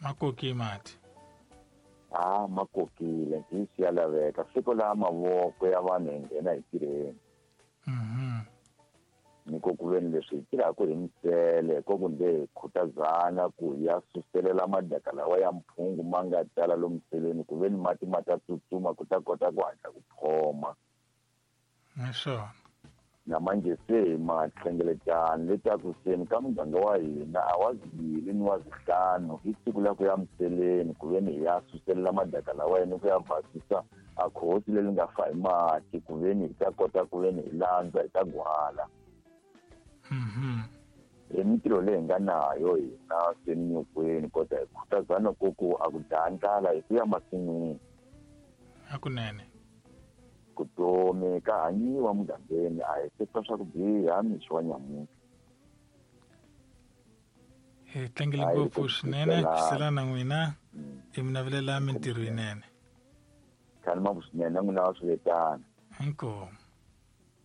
Ma koki mati. A ma kokile ntiyiso ya laveka siku laha mavoko ya vanhu hi nghena hi tirheni. Ni ko ku veni leswi hi tirhaka hi misele ko ku nde hi khutazana ku hi ya suselela madaka lawa ya mphungu ma nga tala lomu miseleni ku veni mati ma ta tsutsuma ku ta kota ku hatla ku phoma. Naswona Na manje se ma hlengeletana letaku seni ka muganga wa hina a wa zibili ni wa zihlanu i siku la ku ya miseleni ku veni hi ya suselela madaka lawa yena ku ya basisa a khosi leri nga fa hi mati ku veni hi ta kota ku veni hi landza hi ta gwala. Hi mintirho leyi hi nga nayo hina seni nyokweni kota hi khutazana ku ku a ku dlaya ndlala hi ku ya masin'wini. Hakunene. Vutomi ka hanyiwa mugangeni a hi se twa swa ku biha mixo wa nyamuntlha. Hi tlangele ngopfu swinene ku sela na n'wina i mi navelela mintirho yinene. Khalima swinene na n'wina wa swi vetana. Inkomu.